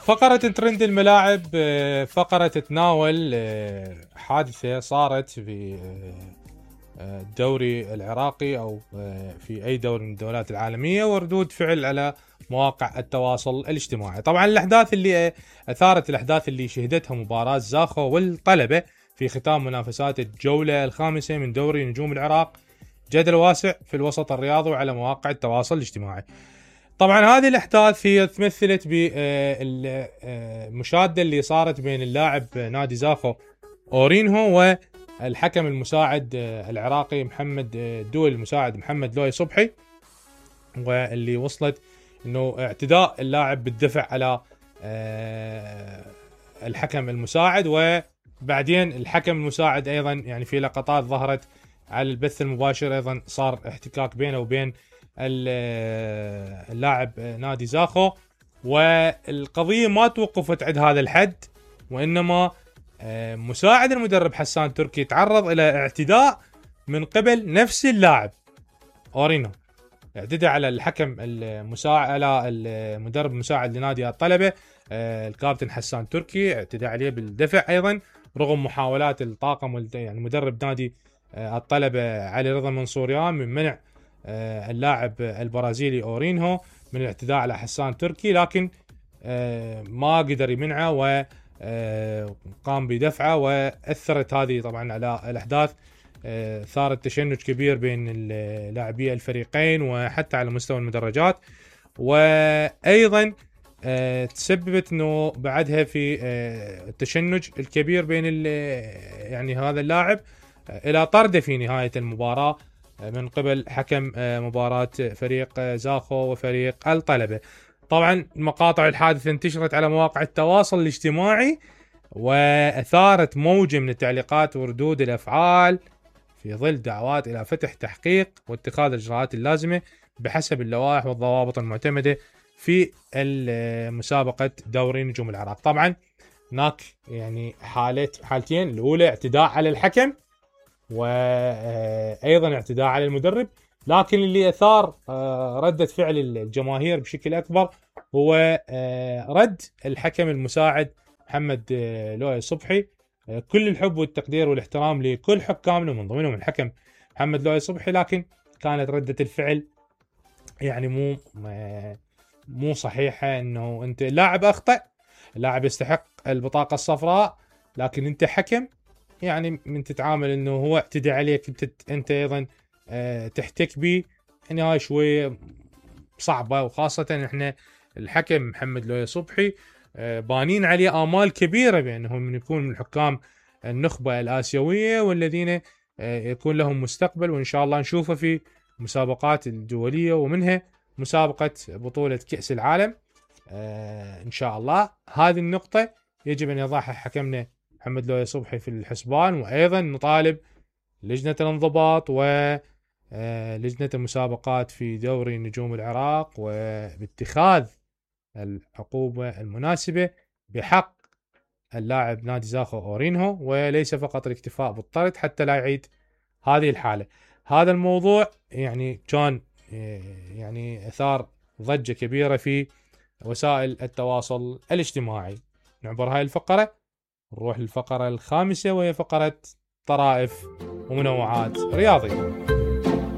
فقرة ترند الملاعب، فقرة تتناول حادثة صارت في الدوري العراقي أو في أي دوري من الدوريات العالمية، وردود فعل على مواقع التواصل الاجتماعي. طبعا الأحداث اللي أثارت الأحداث اللي شهدتها مباراة زاخو والطلبة في ختام منافسات الجولة الخامسة من دوري نجوم العراق جدل واسع في الوسط الرياضي وعلى مواقع التواصل الاجتماعي. طبعا هذه الأحداث هي تمثلت بالمشادة اللي صارت بين اللاعب نادي زاخو أورينهو والحكم المساعد العراقي محمد الدول المساعد محمد لوي صبحي، واللي وصلت انه اعتداء اللاعب بالدفع على الحكم المساعد. وبعدين الحكم المساعد ايضا يعني في لقطات ظهرت على البث المباشر ايضا صار احتكاك بينه وبين اللاعب نادي زاخو، والقضية ما توقفت عند هذا الحد، وإنما مساعد المدرب حسان تركي تعرض إلى اعتداء من قبل نفس اللاعب أورينو. اعتدى على الحكم المساعد، على المدرب المساعد لنادي الطلبة الكابتن حسان تركي، اعتدى عليه بالدفع أيضا رغم محاولات الطاقم يعني مدرب نادي الطلبة علي رضا منصوريان من منع اللاعب البرازيلي أورينهو من الاعتداء على حسان تركي، لكن ما قدر يمنعه وقام بدفعه، وأثرت هذه طبعا على الأحداث. ثارت تشنج كبير بين اللاعبي الفريقين وحتى على مستوى المدرجات، وأيضا تسببت انه بعدها في التشنج الكبير بين يعني هذا اللاعب الى طرده في نهاية المباراة من قبل حكم مباراة فريق زاخو وفريق الطلبة. طبعا مقاطع الحادث انتشرت على مواقع التواصل الاجتماعي وأثارت موجة من التعليقات وردود الأفعال في ظل دعوات إلى فتح تحقيق واتخاذ الإجراءات اللازمة بحسب اللوائح والضوابط المعتمدة في مسابقة دوري نجوم العراق. طبعا هناك يعني حالتين، الأولى اعتداء على الحكم وأيضا اعتداء على المدرب، لكن اللي أثار ردة فعل الجماهير بشكل أكبر هو رد الحكم المساعد محمد لوي صبحي. كل الحب والتقدير والاحترام لكل حكامنا ومن ضمنهم الحكم محمد لوي صبحي، لكن كانت ردة الفعل يعني مو صحيحة. انه انت اللاعب اخطأ، اللاعب يستحق البطاقة الصفراء، لكن انت حكم يعني من تتعامل انه هو اعتدى عليك انت ايضا تحتك به، يعني هاي شوية صعبة. وخاصة احنا الحكم محمد لوي صبحي بانين عليه آمال كبيرة بأنه من يكون من حكام النخبة الآسيوية والذين يكون لهم مستقبل، وإن شاء الله نشوفه في مسابقات الدولية ومنها مسابقة بطولة كأس العالم إن شاء الله. هذه النقطة يجب أن يضعها حكمنا محمد لوي صبحي في الحسبان، وأيضا نطالب لجنة الانضباط ولجنة المسابقات في دوري نجوم العراق وباتخاذ العقوبة المناسبة بحق اللاعب نادي زاخو أورينهو، وليس فقط الاكتفاء بالطرد حتى لا يعيد هذه الحالة. هذا الموضوع يعني كان يعني أثار ضجة كبيرة في وسائل التواصل الاجتماعي. نعبر هاي الفقرة نروح للفقرة الخامسة، وهي فقرة طرائف ومنوعات رياضية.